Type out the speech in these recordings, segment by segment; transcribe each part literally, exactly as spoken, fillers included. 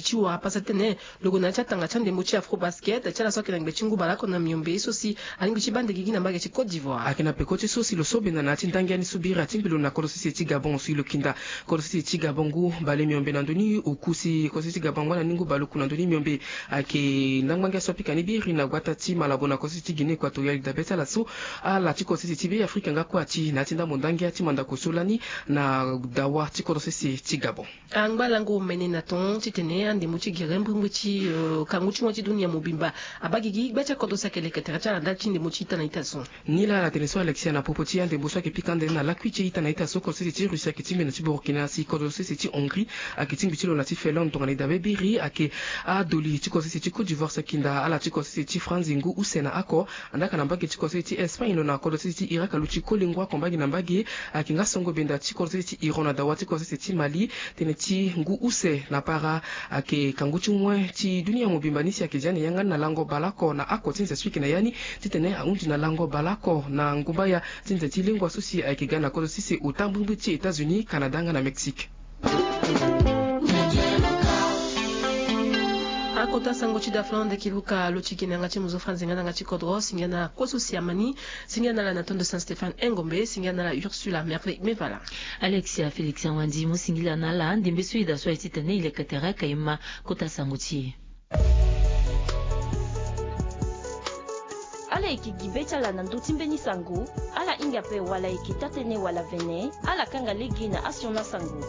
ti wara pasa titene lo gue na ya ti atanga ti andembo ti Afrobasket ti ala so ayeke na ngbe ti ngu baleoko na miombe so si alingbi ti baa ndege gi na mbage ti Côte d'Ivoire. Ayeke na peko ti so si lo so benda na ya ti ndangia ni so biri atingbi lo na kodro sese ti Gabon si lo kinda kodro sese ti Gabon ngu bale miombe na ndö ni oku si kodro sese ti Gabon angba na ni ngu baleoku na ndö ni miombe. Ayeke ndangba ngia so apika ni biri na gbata ti Malabo na kodro sese ti Guinée Équatoriale, dabe ti ala so ala ti kodro sese ti Be Afrika nga kue ati na ya ti ndambo ndangia ti mandako so lani na dawa ti kodro sese ti Gabon. Angba lango omene na ton titene andembo ti gere mbrimbri ti, eh, kangu ti moi ti dunia mobimba abaa gigi gbe ti akodro si ayeke leke tere ti ala ndali ti ndembo ti ita na ita so. Ni laa ala tene so Alexia na popo ti andembo so ayeke pika ande na lakui ti ita na ita so kodro sese ti Russie ayeke tingbi na ti Burkina si kodro sese ti Hongrie ayeke tingbi ti lo na ti Finlande tongana e dabe biri ayeke adoli ti kodro sese ti Côte d'Ivoire so akinda ala ti kodro sese ti France ngu use na oko. Andaa ka na mbage ti kodro sese ti Espagne lo na kodro sese ti Irak aluti koli ngu oko mbage na mbage. Ayeke nga songo benda ti kodro sese ti Iran na dawa ti kodro sese ti Mali tënë ti ngu use na para. Ayeke kangu ti moi ti dunia mobimba ni si ayeke zia na yanga ni na lango baleoko na oko ti nze so e yeke na ya ni titene ahundi na lango baleoko na ngumbaya ti nze ti lengua so si ayeke ga na kodro sese ota mbrimbri ti États-Unis, Canada nga na Mexique. Akota sango ti dafa na ndo eke luka lo ti gi na yanga ti mo zo fa nzenga na yanga ti kodro. Singia na kue so si amani. Singia na ala na tondo Saint Stéphane Engombe. Singia na ala Ursula Merveille Mevala. Alexia Félix Awandi, mo singila na ala ndembe so e daa so aye titene e leke tere ka e ma kota sango ti e. Ala yeke gi be ti ala na ndö ti mbeni sango. Ala hinga ape wala e yeke taa-tënë wala vene, ala kanga lege na asioni asango.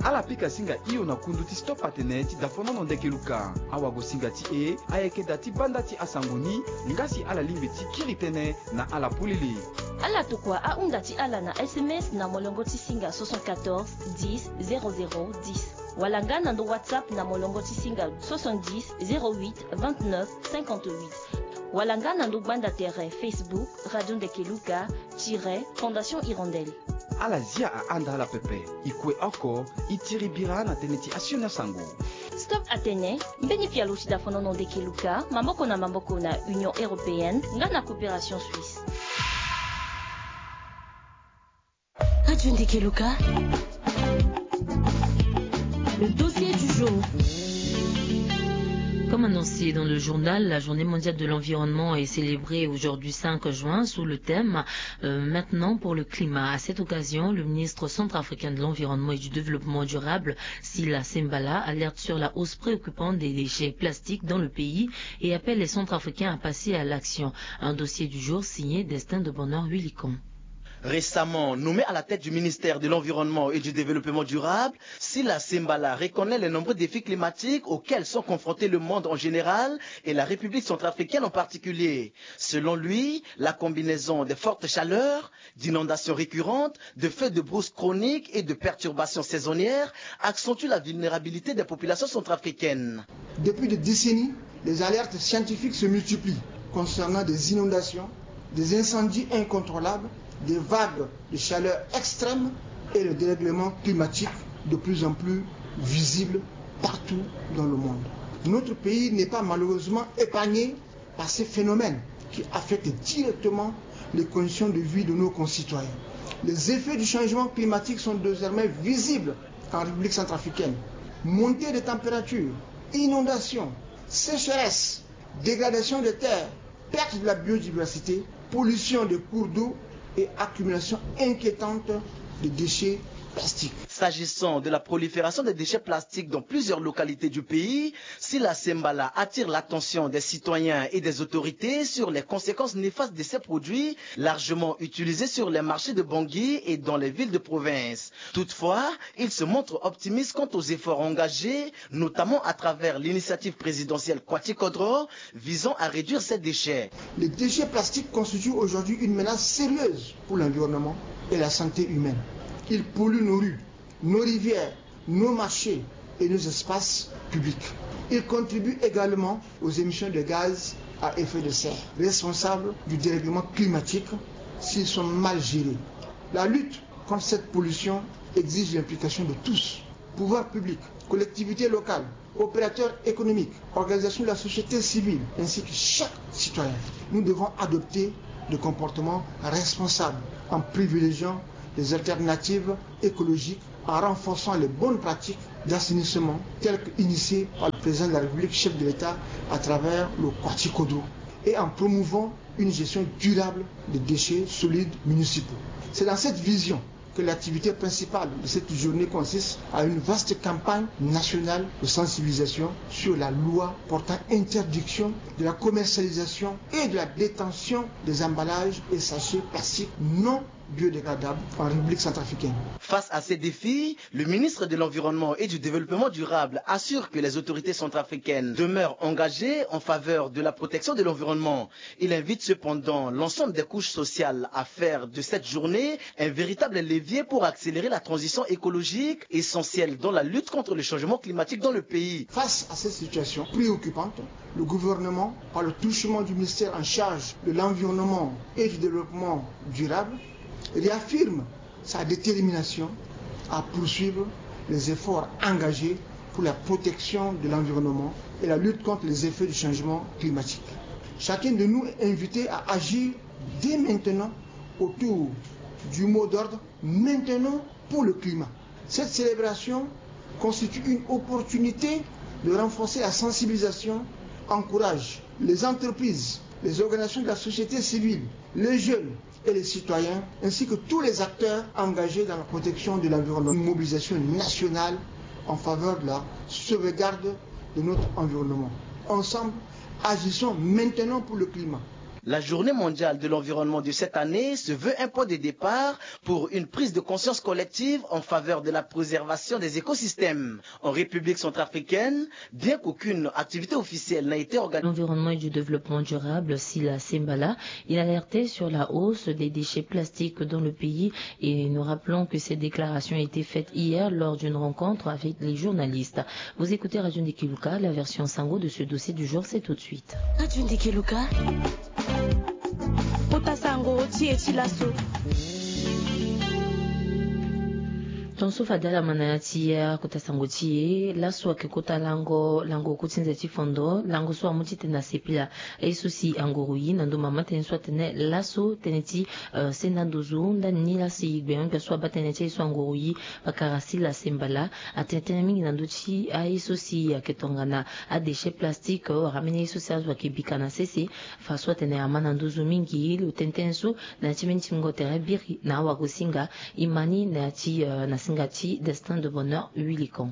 Ala pika singa hio na kundu ti Stop Atene ti dafonono ndeke luka. Awagosinga ti e ayeke daa ti banda ti asango ni, nga si ala lingbi ti kiri tënë na ala polele. Ala tokua ahunda ti ala na S M S na molongo ti singa soixante-quatorze dix zéro zéro dix, wala nga na ndo WhatsApp na molongo ti singa soixante-dix zéro huit vingt-neuf cinquante-huit, wala nga na ndo gbanda tere Facebook Radio Ndeke Luka tiret Fondation Hirondelle. Ala zia ahanda ala pepe. E kue oko, e tiri bira na tënë ti asioni asango. Stop Atene, mbeni pialo ti dafonono ndeke luka, maboko na maboko na Union Européenne nga na Coopération Suisse. Radio Ndeke Luka. Le dossier du jour. Comme annoncé dans le journal, la Journée mondiale de l'environnement est célébrée aujourd'hui cinq juin sous le thème, euh, Maintenant pour le climat. À cette occasion, le ministre centrafricain de l'Environnement et du Développement durable, Sila Sembala, alerte sur la hausse préoccupante des déchets plastiques dans le pays et appelle les Centrafricains à passer à l'action. Un dossier du jour signé Destin de Bonheur Willicon. Récemment nommé à la tête du ministère de l'Environnement et du Développement durable, Sila Sembala reconnaît les nombreux défis climatiques auxquels sont confrontés le monde en général et la République centrafricaine en particulier. Selon lui, la combinaison des fortes chaleurs, d'inondations récurrentes, de feux de brousse chroniques et de perturbations saisonnières accentue la vulnérabilité des populations centrafricaines. Depuis des décennies, les alertes scientifiques se multiplient concernant des inondations, des incendies incontrôlables, des vagues de chaleur extrême et le dérèglement climatique de plus en plus visible partout dans le monde. Notre pays n'est pas malheureusement épargné par ces phénomènes qui affectent directement les conditions de vie de nos concitoyens. Les effets du changement climatique sont désormais visibles en République centrafricaine. Montée des températures, inondations, sécheresses, dégradation des terres, perte de la biodiversité, pollution des cours d'eau et accumulation inquiétante de déchets plastiques. S'agissant de la prolifération des déchets plastiques dans plusieurs localités du pays, Sila Sembala attire l'attention des citoyens et des autorités sur les conséquences néfastes de ces produits largement utilisés sur les marchés de Bangui et dans les villes de province. Toutefois, il se montre optimiste quant aux efforts engagés, notamment à travers l'initiative présidentielle Kwati Kodro, visant à réduire ces déchets. Les déchets plastiques constituent aujourd'hui une menace sérieuse pour l'environnement et la santé humaine. Ils polluent nos rues, nos rivières, nos marchés et nos espaces publics. Ils contribuent également aux émissions de gaz à effet de serre, responsables du dérèglement climatique s'ils sont mal gérés. La lutte contre cette pollution exige l'implication de tous, pouvoirs publics, collectivités locales, opérateurs économiques, organisations de la société civile, ainsi que chaque citoyen. Nous devons adopter des comportements responsables en privilégiant les alternatives écologiques en renforçant les bonnes pratiques d'assainissement telles qu'initiées par le président de la République, chef de l'État, à travers le Kwati Kodro, et en promouvant une gestion durable des déchets solides municipaux. C'est dans cette vision que l'activité principale de cette journée consiste à une vaste campagne nationale de sensibilisation sur la loi portant interdiction de la commercialisation et de la détention des emballages et sachets plastiques non biodégradables en République centrafricaine. Face à ces défis, le ministre de l'Environnement et du Développement durable assure que les autorités centrafricaines demeurent engagées en faveur de la protection de l'environnement. Il invite cependant l'ensemble des couches sociales à faire de cette journée un véritable levier pour accélérer la transition écologique essentielle dans la lutte contre le changement climatique dans le pays. Face à cette situation préoccupante, le gouvernement, par le truchement du ministère en charge de l'environnement et du développement durable, réaffirme sa détermination à poursuivre les efforts engagés pour la protection de l'environnement et la lutte contre les effets du changement climatique. Chacun de nous est invité à agir dès maintenant autour du mot d'ordre « Maintenant pour le climat ». Cette célébration constitue une opportunité de renforcer la sensibilisation, encourage les entreprises, les organisations de la société civile, les jeunes et les citoyens, ainsi que tous les acteurs engagés dans la protection de l'environnement. Une mobilisation nationale en faveur de la sauvegarde de notre environnement. Ensemble, agissons maintenant pour le climat. La journée mondiale de l'environnement de cette année se veut un point de départ pour une prise de conscience collective en faveur de la préservation des écosystèmes. En République centrafricaine, bien qu'aucune activité officielle n'a été organisée, l'environnement et du développement durable, Sila Sembala, il alertait sur la hausse des déchets plastiques dans le pays et nous rappelons que cette déclaration a été faite hier lors d'une rencontre avec les journalistes. Vous écoutez Radio Ndiki Luka, la version sango de ce dossier du jour, c'est tout de suite. Radio Ndiki Luka. Kota sango ti e ti laso. Tonso fade ala ma na ya ti e, kota sango ti e. Laso ayeke kota lango, lango ku ti nze ti fondo, lango so amu titene asepela aye so si anguru ye na ndo mama tënë so atene laso tënë ti, eh, senda nduzu ndani ni lasi gbengbia so abaa tënë ti aye so anguru ye pakara Sila Sembala atene tënë mingi na ndö ti aye so si ayeke tongana adéchet plastique, eh, wala ambeni aye so si azo ayeke bika na sese. Fa so atene ama na nduzu mingi, lo tënë tënë so na ya ti mbeni tingbingo tere biri na awagosinga, e ma ni na ya ti, eh, na singa ti Destin de Bonheur Wilikon.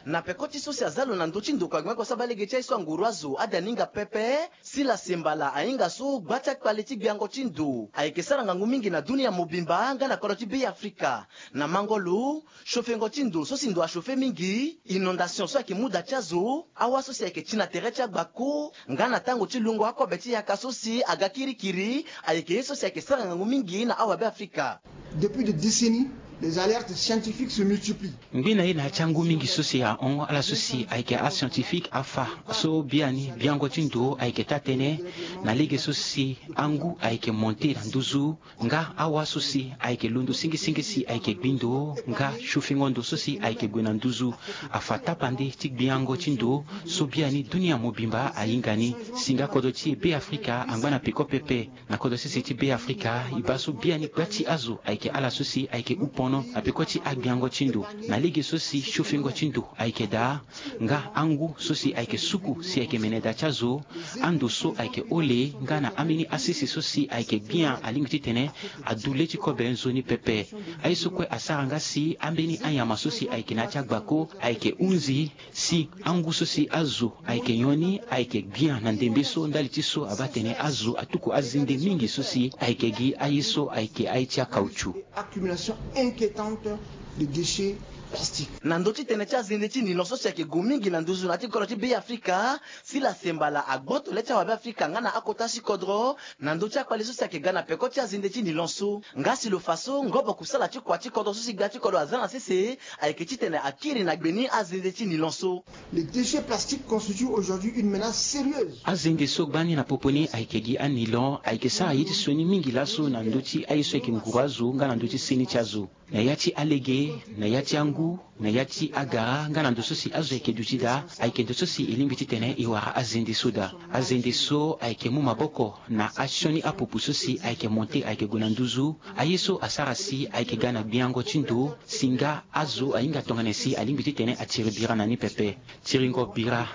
Na peko ti so si aza lo na ndö ti ndokua gbengbia so abaa lege ti aye so anguru azo adaninga pepe, Sila Sembala ahinga so gba ti akpale ti gbiango ti ndo ayeke sara ngangu mingi na dunia mobimba nga na kodro ti Be Afrika. Na mango lo, chauffengo ti ndo so si ndo achauffe mingi, inondation so ayeke mu da ti azo, awa so si ayeke ti na tere ti agbako, nga na tango ti lungo akobe ti yaka so si aga kirikiri, ayeke ye so si ayeke sara ngangu mingi na awa Be Afrika. Depuis des décennies, les alertes scientifiques se multiplient. Ngbi na ye na ya ti angu mingi so si ahon ala so si ayeke ascientifique afa so biani gbiango ti ndo ayeke taa-tënë na lege so si angu ayeke monte na nduzu, nga awa so si ayeke londo singisingisi ayeke gbi ndo, nga chauffengo ndo so si ayeke gue na nduzu afa tapande ti gbiango ti ndo so biani dunia mobimba ahinga ni. Si nga kodro ti e Be Afrika angba na peko pepe. Na kodro sese ti Be Afrika, e baa so biani gba ti azo ayeke ala so si ayeke houpono na peko ti agbiango ti ndo. Na lege so si chauffengo ti ndo ayeke daa, nga angu so si ayeke suku si ayeke mene da ti azo, ando so ayeke hole, nga na ambeni asese so si ayeke gbia alingbi titene adu le ti kobe nzoni pepe. Aye so kue asara nga si ambeni anyama so si ayeke na ya ti agbako ayeke hunzi, si angu so si azo ayeke nyon ni ayeke gbia na ndembe so ndali ti so abaa tene azo atuku azende mingi so si ayeke gi aye so ayeke aye ti akautchu. Accumulation inquiétante de déchets plastiques. Na ndö ti tënë ti azende ti nilon so si ayeke gue mingi na nduzu na ya ti kodro ti Be Afrika, Sila Sembala agboto le ti awa Be Afrika nga na akota si kodro na ndö ti akpale so si ayeke ga na peko ti azende ti nilon so. Nga si lo fa so ngobo kusala ti kua ti kodro so si gbia ti kodro aza na sese, ayeke titene akiri na gbe ni azende ti nilon so. Les déchets plastiques constituent aujourd'hui une menace sérieuse. Azende so gbani na popo ni ayeke gi anilon ayeke sara ye ti sioni mingi laso na ndö ti aye so ayeke nguru azo nga na ndö ti seni ti azo. Na ya ti alege, na ya ti angu, Na ya ti agara nga na ndo so si azo ayeke duti daa, ayeke ndo so si e lingbi titene e wara azende so daa. Azende so ayeke mu maboko na asioni apupu so si ayeke monte ayeke gue na nduzu. Aye so asara si ayeke ga na gbiango ti ndo si nga azo ahinga tongana nyen si alingbi titene atiri bira na ni pepe. Tiringo bira